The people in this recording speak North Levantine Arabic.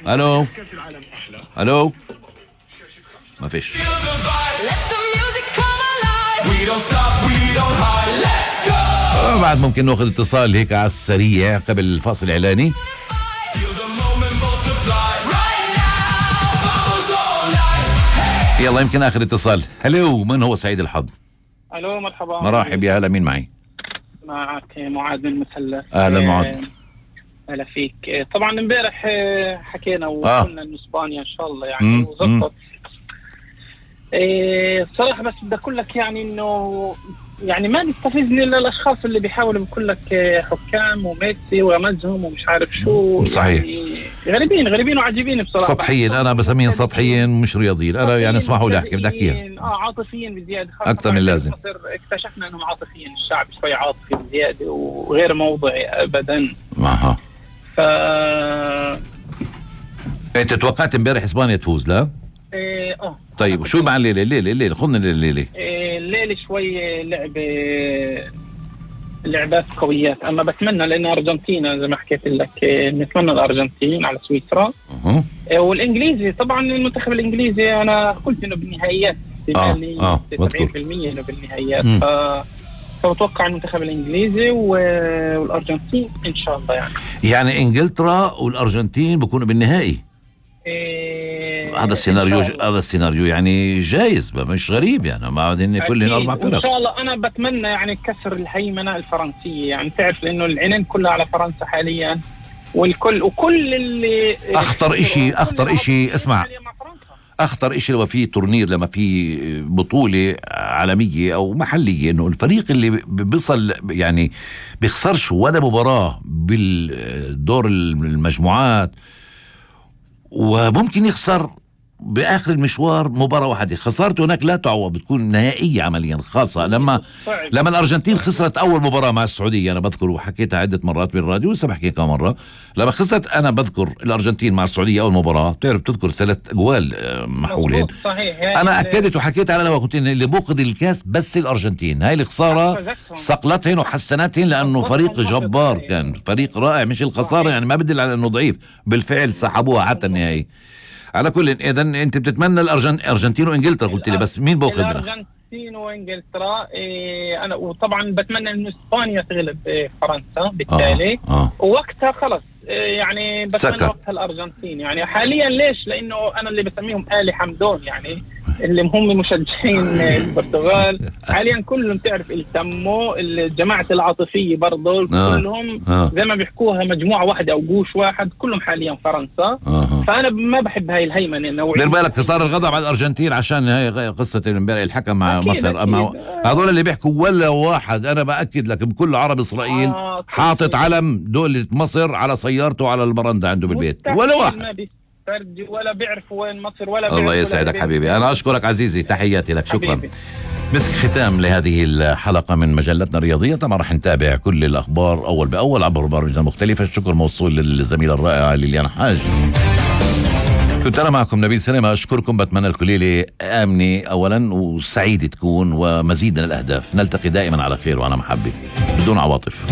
الو الو ما فيش. بعد ممكن ناخذ اتصال هيك على السريع قبل الفاصل الاعلاني. يلا يمكن اخر اتصال. هلو، من هو سعيد الحظ؟ الو مرحبا. مرحب، يا هلا، مين معي؟ معك معاذ من المثلث. اهلا معاذ. هلا فيك. طبعا امبارح حكينا وقلنا انه اسبانيا ان شاء الله يعني وظبط. الصراحه بس بدي اقول لك يعني انه يعني ما بيستفزني الا الاشخاص اللي بيحاولوا بيقول لك حكام وميسي ورمزهم ومش عارف شو. صحيح. يعني غريبين وعجيبين بصراحه. سطحيين، انا بسميهم سطحيين مش رياضيين. انا يعني اسمحوا لي احكي، بدي احكيها. عاطفيين بزياده اكثر من اللازم. اكتشفنا انهم عاطفيين، الشعب شوي عاطفي بزياده وغير موضعي ابدا. اها. انت توقعت امبارح اسبانيا تفوز لا؟ طيب وشو مع الليله خذنا الليله. الليله شوي لعبات قويات، اما بتمنى لان ارجنتينا زي ما حكيت لك نتمنى الارجنتين على سويسرا. والانجليزي طبعا المنتخب الانجليزي انا قلت انه بالنهائيات 70% انه بالنهائيات. فبتوقع المنتخب الانجليزي والارجنتين ان شاء الله يعني انجلترا والارجنتين بكونوا بالنهائي. هذا السيناريو يعني جايز، مش غريب يعني، ما بعدين كلهم 4 فرق. ان شاء الله انا بتمنى يعني كسر الهيمنه الفرنسيه، يعني تعرف لانه العينين كلها على فرنسا حاليا، وكل اللي اخطر اشي اسمع، اخطر اشي لما في تورنير، لما في بطوله عالميه او محليه، انه الفريق اللي بيصل يعني بيخسرش ولا مباراه بالدور المجموعات، وممكن يخسر باخر المشوار مباراه واحده. خسارته هناك لا تعوض، بتكون نهائيه عمليا خاصه. لما الارجنتين خسرت اول مباراه مع السعوديه، انا بذكر وحكيتها عده مرات بالراديو ولسه بحكيها كم مره. لما خسرت انا بذكر الارجنتين مع السعوديه اول مباراه، بتعرف تذكر 3 أجوال محولين. صحيح. انا اكدت وحكيت على الهواء، قلت اللي بوقظ الكاس بس الارجنتين. هاي الخساره صقلتهن وحسنتهن لانه فريق جبار، كان فريق رائع، مش الخساره يعني ما بدل على انه ضعيف، بالفعل سحبوها حتى النهائي. على كل اذا انت بتتمنى الارجنتين وانجلترا قلت لي، بس مين بوقظ الارجنتين وانجلترا؟ انا وطبعا بتمنى انه اسبانيا تغلب فرنسا بالتالي. ووقتها خلص يعني بتمنى وقتها الارجنتين. يعني حاليا ليش؟ لانه انا اللي بسميهم آل حمدون، يعني اللي هم مشجعين البرتغال حاليا كلهم تعرف التموا الجماعة العاطفية برضه كلهم زي ما بيحكوها مجموعة واحدة أو جوش واحد، كلهم حاليا فرنسا. فأنا ما بحب هاي الهيمنة النوعية. دير بالك صار الغضب على الأرجنتين عشان هاي قصة امبارح الحكم مع مصر. أما هذول اللي بيحكوا ولا واحد، أنا بأكد لك بكل عرب إسرائيل حاطط علم دولة مصر على سيارته على البرندة عنده بالبيت، ولا واحد ولا بيعرفوا وين مصر ولا. الله يسعدك حبيبي، أنا أشكرك عزيزي، تحياتي لك، شكرا. مسك ختام لهذه الحلقة من مجلتنا الرياضية. طبعا رح نتابع كل الأخبار أول بأول عبر برامجنا المختلفة. الشكر موصول للزميلة الرائعة ليليان حاج. كنت أنا معكم نبيل سلامة، أشكركم، بتمنى لكم ليلة آمنة أولا وسعيدة تكون ومزيد من الأهداف. نلتقي دائما على خير وعلى محبة بدون عواطف.